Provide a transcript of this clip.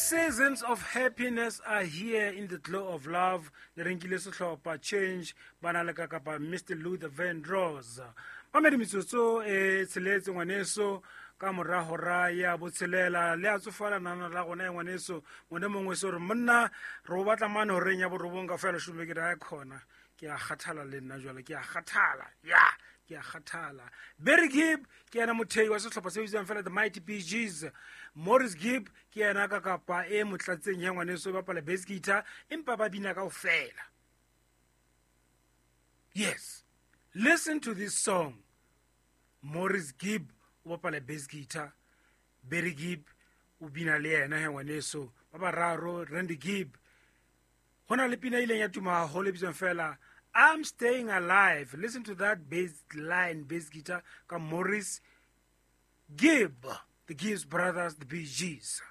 Seasons of happiness are here in the glow of love. Le renkile sehlopha Change ba na le ka kapa Mr Luther Vandross. Mamedi metsotso e tsheletse ngwaneso ka mora hora ya botshelela le a tsofala nana la gona ya ngwaneso ngwane mongwe se gore monna re o batla mane horeng ya borobong ka fela šome ke re a khona ke a kgathala le nna jwale ke a kgathala ya ke a kgathala. Barry Gibb ke yena mothei wa sehlopha se bitswang fela the Mighty Bee Gees. Morris Gibb ke yena ka kapa e motlatseng ya ngwaneso e bapala bass guitar empa ba bina kaofela. Yes, listen to this song. Morris Gibb o bapala bass guitar, Barry Gibb o bina le yena he ngwaneso, ba bararo Randy Gibb. Go na le pina e ileng ya tuma haholo e bitswang fela I'm Staying Alive. Listen to that bass line, bass guitar ka Morris Gibb, the Gibbs Brothers, the Bee Gees.